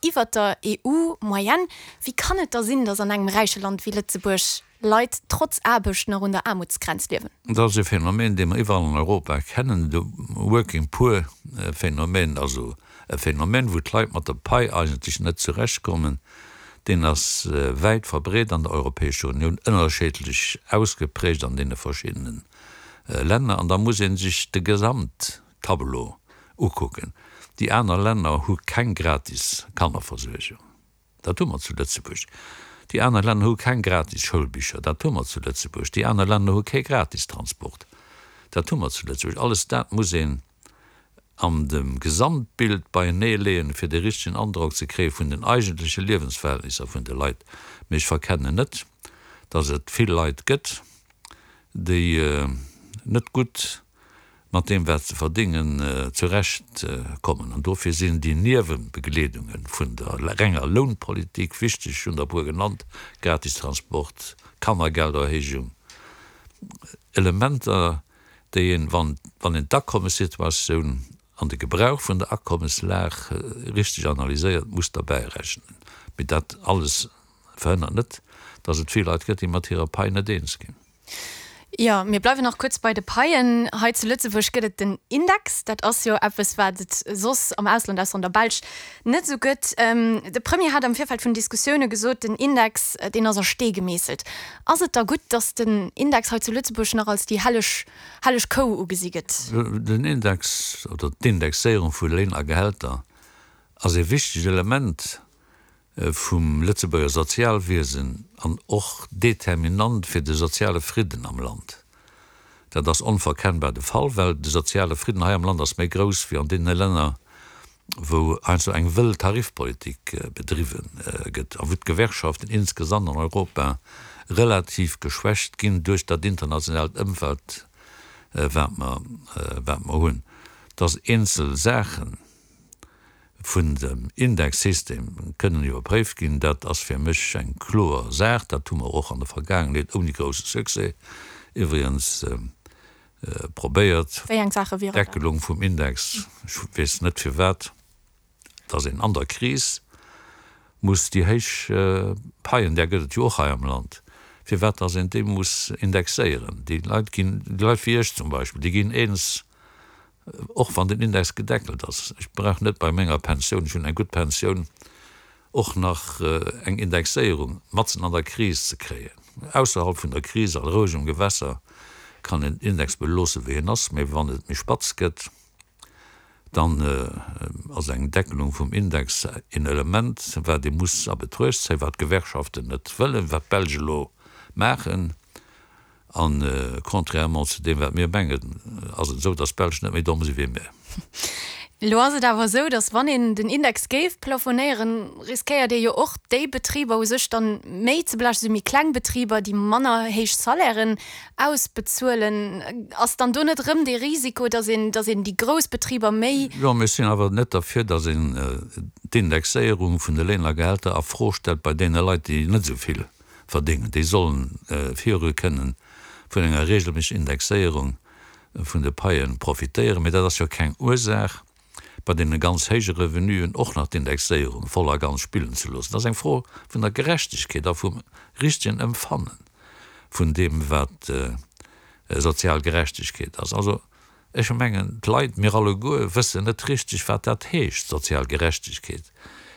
Iwwert der EU-Moyenne. Wéi kann et da sinn, datt an engem räiche Land wéi Lëtzebuerg Leit trotz Aarbecht nach un der Aarmutsgrenz liewen? Dat ass e Phänomen, dee mer iwwerall an Europa kennen, de Working Poor Phänomen, also e Phänomen, wou d'Leit mat der Pai eigentlech net zurechtkommen. Deen ass wäit verbreet an der Europäescher Unioun, ënnerscheedlech ausgeprägt an deene verschiddene Länner. An da muss ee sech de Gesamt Tableau ukucken. Déi aner Länner hu keng gratis Kannerversuergung, dat hu mer zu Lëtzebuerg. Déi aner Länner hu keng gratis Schoulbicher, dat hu mer zu Lëtzebuerg. Déi aner Länner hu kee gratis Transport, dat hu mer zu Lëtzebuerg. Alles dat muss een an dem Gesamtbild beienee leeën, fir de richtegen Androck ze kréie vun den eigentleche Liewensverhältnisser vun de Leit. Mee ech verkennen net, dass et vill Leit gëtt, déi net gutt mat deem wat se verdéngen zurecht kommen. An dofir sinn déi Niewebegleedunge vun der renger Lounpolitik wichteg, ech hunn der e puer genannt, Gratistransport, Kannergelderhéijung, Elementer déi een, wann een d'Akommessituatioun an de Gebrauch vun der Akommeslag richteg analyséiert, muss derbäi rechnen. Mee dat alles verhënnert net, datt et vill Leit gëtt, déi mat hirer Pai net eens ginn. Jo, mir bleiwen nach kuerz bei de Paien. Hei zu Lëtzebuerg gëtt et den Index. Dat ass jo eppes, wat et soss am Ausland, ausser an der Belsch, net esou gëtt. De Premier hat am Virfeld vun den Diskussioune gesot, den Index, deen ass a Stee gemeesselt. Ass et da gutt, datt den Index hei zu Lëtzebuerg nach als déi helleg, helleg Kou ugesi gëtt? Den Index oder d'Indexéierung vu Léin a Gehälter ass ee wichtegt Element vum Lëtzebuerger Sozialwiesen an och determinant fir de soziale Fridden am Land. Dat ass onverkennbar de Fall, well de soziale Fridden hei am Land ass méi grouss wéi an deene Länner, wou heiansdo eng wëll Tarifpolitik bedriwwe gëtt a wou d'Gewerkschaften insgesamt an Europa relativ geschwächt ginn duerch dat internationaalt Ëmfeld, wat mer, wat mer hunn, dass eenzel Saachen, vun dem Indexsystem kënnen iwwerpréift ginn, dat ass fir mech eng kloer Saach. Dat hu mer och an der Vergaangenheet ouni grousse Succès iwwregens probéiert. Wéi eng Saache wieren dat? D'Deckelung vum Index, ech weess net firwat dass een an der Kris muss déi héich Paien, där gëtt et jo och hei am Land, firwat dass een déi muss indexéieren. Déi Leit ginn, déi Leit wéi ech zum Beispill, déi ginn eens Och wann den Index gedeckelt ass, ech brauch net bei menger Pensioun, ech hunn eng gutt Pensioun, och nach eng Indexéierung matzen an der Kris ze kréien. Ausserhalb vun der Kris a rouegem Gewässer kann een den Index beloosse wéi en ass, mee wann et méi spatz gëtt, dann ass eng Deckelung vum Index een Element, wat ee muss a Betruecht zéien, wat d'Gewerkschaften net wëllen, wat d'Belsch elo maachen. A contrairement zu deem, wat mir mengen, ass et esou, datt d'Belsch net méi domm si wéi mir. Elo ass et awer esou, datt wann een den Index géif plafonéieren, riskéiert ee jo och déi Betriber u sech dann méi ze belaaschten, esou méi kleng Betriber, déi manner héich Salairen ausbezuelen. Ass dann do net erëm dee Risiko, datt een, datt een déi grouss Betriber méi. Jo, mir sinn awer net derfir, datt een d'Indexéierung vun de Léin a Gehälter a Fro stellt bei deene Leit, déi net esou vill verdéngen, déi sollen viru kënnen vun enger regelméisseg Indexéierung vun de Paie profitéieren. Mee dat ass jo keng Ursaach, bei deene ganz héije Revenuen och nach d'Indexéierung voll a ganz spillen ze loossen. Dat ass eng Fro vun der Gerechtegkeet a vum richtegen Emfanne vun deem, wat sozial Gerechtegkeet ass. Also, ech mengen, d'Leit, mir alleguer wëssen net richteg, wat dat heescht, sozial Gerechtegkeet,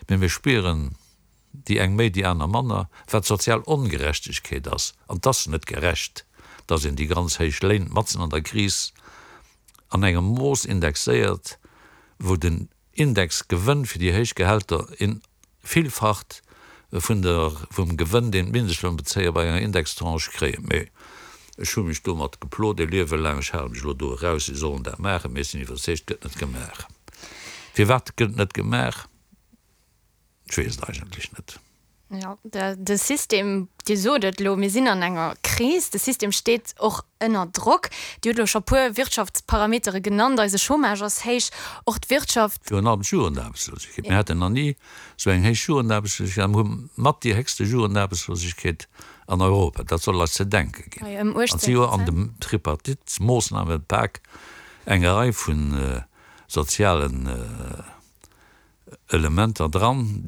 mee mir spieren, déi eng méi, déi aner manner, wat sozial Ongerechtegkeet ass. An 't ass net gerecht, dass een déi ganz héich Léin matzen an der Kris an engem Mooss indexéiert, wou den Indexgewënn fir déi héich Gehälter een Villfacht vun der, vum Gewënn, deen d'Mindestlounbezéier bei enger Indextranche kréien. Mee ech hu mech domat geplot e Liewe laang, ech hale mech elo do eraus, si sollen dat maachen, mee ech sinn iwwerzeegt, et gëtt net gemaach. Firwat gëtt et net gemaach? Ech weess et eigentlech net. Jo, de System, Dir sot et elo, mir sinn an enger Kris, de System steet och ënner Drock. Dir hutt elo scho puer Wirtschaftsparametere genannt, eise Chômage ass héich, och d'Wirtschaft. Virun allem d'Jugendaarbechtslosegkeet. Mir haten nach ni esou eng héich Jugendaarbechtslosegkeet a mir hu mat déi héchste Jugendaarbechtslosegkeet an Europa. Dat soll eis ze denke ginn. Ëm 18 Prozent. An et si jo an dem Tripartite-Moossnamepak eng Rei vu sozialen. Elementer dran.